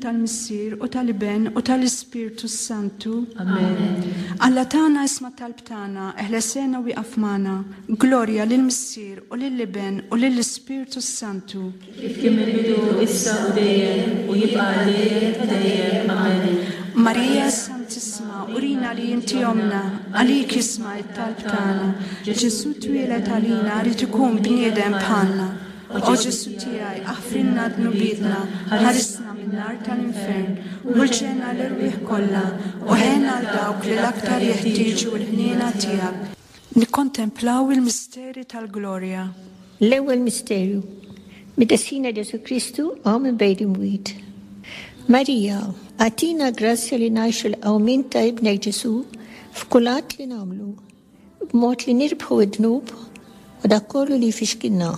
tal-Missier u tal-Iben u tal-Ispirtu s-Santu. Amen. Alla tagħna isma' talb tagħna, eħlesena u wieqaf magħna. Glorja lill-Missier u lill-Iben u lill-Ispirtu s-Santu. Kif kien mill-bidu, issa u dejjem, u jibqa' għal dejjem ta' dejjem. Amen. Marija Santissima, urina li inti ommna, għalik jisma' it-talb tagħna. Ġesù twieled għalina rid ikun bniedem bħalna. O Ġesù tiegħi, aħfrilna dnubietna, ħarisna min-nar tal-infern, u l-ġenna l-erwieħ kollha, u ħenn għal dawk li l-aktar jeħtieġu l-ħniena tiegħek. Nikkontemplaw il-misteri tal-glorja. L-ewwel misteru, Meta Sidna Ġesù Kristu qam minn bejn l-imwiet. Marija, agħtina l-grazzja li ngħixu l-qawmien ta' Ibnek Ġesù f'kull att li nagħmlu, b'mod li nirbħu d-dnub u dak kollu li jfixkilna.